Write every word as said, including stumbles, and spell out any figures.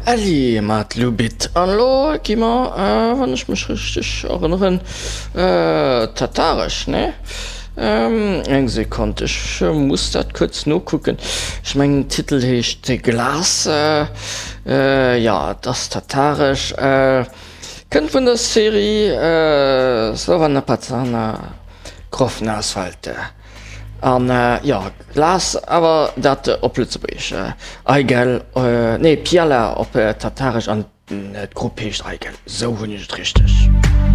Elli mat Lubit. An elo gi mer, wann ech mech richteg erënneren, Tataresch, nee? Eng Sekonn, ech muss dat kuerz nokucken. Ech mengen den Titel heescht Glas. Jo, et ass Tataresch. Kënnt vun der Serie Slova na Pazana, Krov na Asfalte. An jo, Glas, awer dat op Lëtzebuergesch, Aigel, nee Piala op Tataresch an d'Grupp heescht Aigel, sou hunn ech et richteg.